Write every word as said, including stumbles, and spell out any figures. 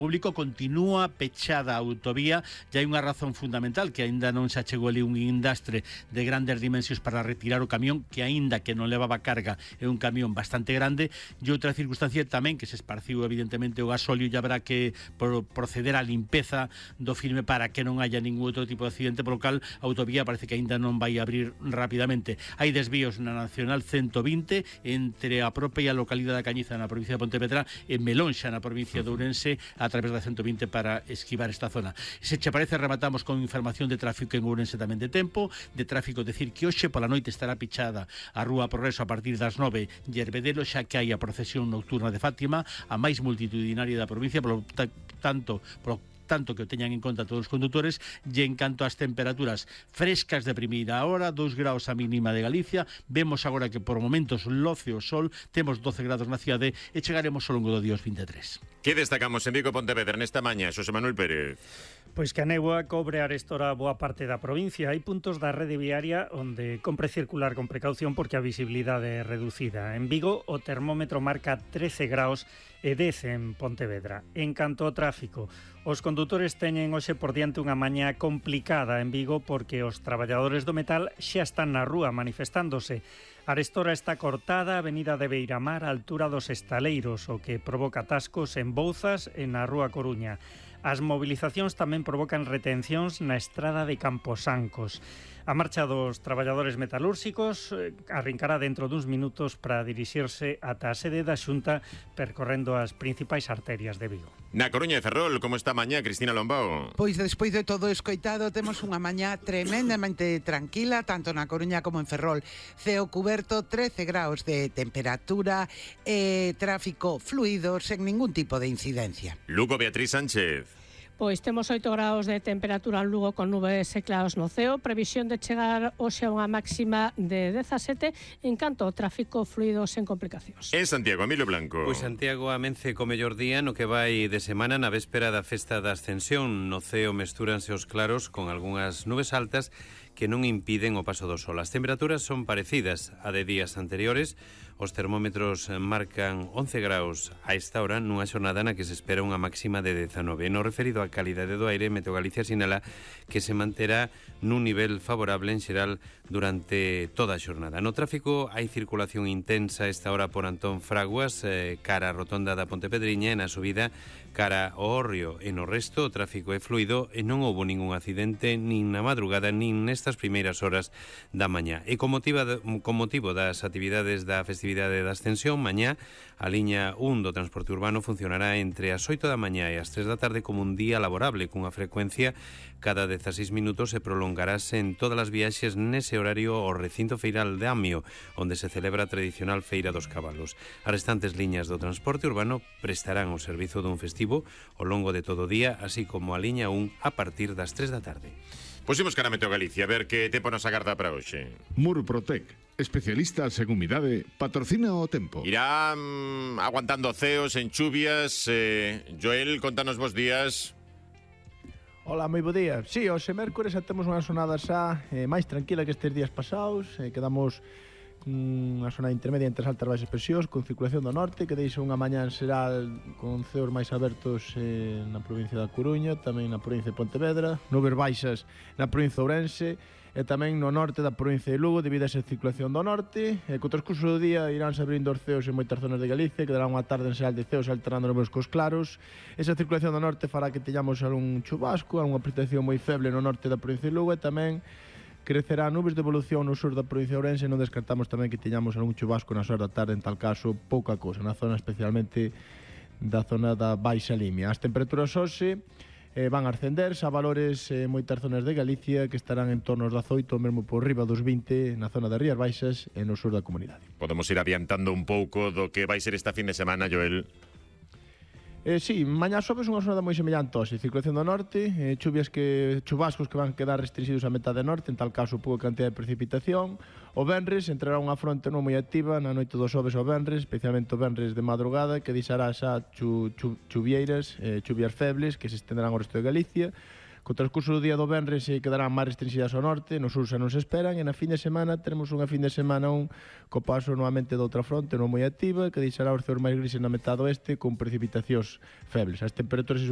público continúa pechada a autovía e hai unha razón fundamental, que aínda non se achegou ali un indastre de grandes dimensións para retirar o camión, que aínda que non levaba carga é un camión bastante grande, e outra circunstancia tamén que se esparciu evidentemente o gasóleo e habrá que proceder á limpeza do filme para que non haya ningún outro tipo de accidente, polo cal a autovía parece que aínda non vai abrir rapidamente. Hai desvíos na Nacional ciento vinte entre a propia localidade da Cañiza na provincia de Pontevedra e Melonxa na provincia de Ourense a través da ciento vinte para esquivar esta zona. Se che parece, rematamos con información de tráfico en Ourense tamén de tempo, de tráfico, decir que hoxe pola noite estará pichada a Rúa Progreso a partir das nove de Herbedelo, xa que hai a procesión nocturna de Fátima, a máis multitudinaria da provincia, polo tanto, polo tanto que o teñan en conta todos os condutores. E en canto ás temperaturas frescas de primeira hora, dous graus a mínima de Galicia, vemos agora que por momentos loce o sol, temos doce grados na cidade e chegaremos ao longo do día aos vinte e tres. Que destacamos en Vigo Pontevedra nesta mañá, Xosé Manuel Pérez? Pois que a néboa cobre arestora boa parte da provincia. Hai puntos da rede viaria onde compre circular con precaución porque a visibilidade é reducida. En Vigo o termómetro marca trece graus e dez en Pontevedra. En canto ao tráfico, os condutores teñen hoxe por diante unha mañá complicada en Vigo porque os traballadores do metal xa están na rúa manifestándose. A arestora está cortada a avenida de Beiramar á altura dos Estaleiros, o que provoca atascos en Bouzas e na Rúa Coruña. As movilizacións tamén provocan retencións na estrada de Camposancos. A marcha dos traballadores metalúrxicos eh, arrincará dentro duns minutos para dirixirse ata a sede da Xunta percorrendo as principais arterias de Vigo. Na Coruña de Ferrol, como está mañá, Cristina Lombao? Pois despois de todo escoitado temos unha mañá tremendamente tranquila, tanto na Coruña como en Ferrol. Ceo cuberto, trece graus de temperatura e tráfico fluido sen ningún tipo de incidencia. Lugo, Beatriz Sánchez. Pois temos oito graus de temperatura en Lugo con nubes e claros no ceo, previsión de chegar hoxe a unha máxima de dezasete, en canto ao tráfico fluido sen complicacións. En Santiago, Emilio Blanco. Pois Santiago amence co mellor día no que vai de semana na véspera da festa da Ascensión. No ceo mestúranse os claros con algunhas nubes altas que non impiden o paso do sol. As temperaturas son parecidas a de días anteriores. Os termómetros marcan once graus a esta hora nunha xornada na que se espera unha máxima de dezanove. No referido á calidade do aire, Meteo Galicia sinala que se manterá nun nivel favorable en xeral durante toda a xornada. No tráfico hai circulación intensa a esta hora por Antón Fraguas, eh, cara a rotonda da Pontepedriña, e na subida cara ao Hórreo. E no resto o tráfico é fluido e non houbo ningún accidente nin na madrugada nin nestas primeiras horas da mañá. E con motivo, de, con motivo das actividades da festividade da Ascensión, mañá a liña un do transporte urbano funcionará entre as oito da mañá e as tres da tarde como un día laborable, cunha frecuencia cada dezaseis minutos, e prolongarase en todas as viaxes nese horario ao recinto feiral de Amio, onde se celebra a tradicional Feira dos Cabalos. As restantes liñas do transporte urbano prestarán o servizo dun festivo ao longo de todo o día, así como a liña un a partir das tres da tarde. Pusimos cara a Meteo Galicia, a ver que tempo nos agarda para hoxe. Murprotec, especialistas en humidade, patrocina o tempo. Irá mm, aguantando ceos en chuvias. eh, Joel, contanos vos días. Hola, moi bo día. Si, sí, hoxe mércores xa temos unha sonada xa eh, máis tranquila que estes días pasados. eh, Quedamos unha zona intermedia entre as altas baixas presións con circulación do norte que deixa unha mañá en xeral con ceos máis abertos eh, na provincia da Coruña, tamén na provincia de Pontevedra, nubes baixas na provincia de Ourense e tamén no norte da provincia de Lugo debido a esa circulación do norte. E co transcurso do día iránse abrindo os ceos en moitas zonas de Galicia, que dará unha tarde en xeral de ceos alternando nubes cos claros. Esa circulación do norte fará que teñamos algún chubasco, algunha precipitación moi feble no norte da provincia de Lugo, e tamén crecerá nubes de evolución no sur da provincia de Ourense. Non descartamos tamén que teñamos algún chubasco nas horas da tarde, en tal caso pouca cousa, na zona especialmente da zona da Baixa Limia. As temperaturas hoxe eh, van a ascenderse a valores en eh, moitas zonas de Galicia que estarán en torno aos dezaoito, mesmo por riba dos vinte na zona das Rías Baixas e no sur da comunidade. Podemos ir adiantando un pouco do que vai ser esta fin de semana, Joel. Eh, sí, mañá xoves unha xornada moi semellante hoxe, circulación do norte, eh, chuvias que chubascos que van quedar restringidos á metade norte, en tal caso pouca cantidad de precipitación. O venres entrará unha fronte non moi activa na noite do xoves ao venres, especialmente o venres de madrugada, que deixará xa chu, chu, chuvieiras, eh, chuvias febles que se estenderán ao resto de Galicia. Co transcurso do día do venres se quedarán máis restringidas ao norte, no sur xa non se esperan, e na fin de semana teremos unha fin de semana un co paso novamente de outra fronte non moi activa, que deixará os ceos máis grises na metade oeste con precipitacións febles. As temperaturas, iso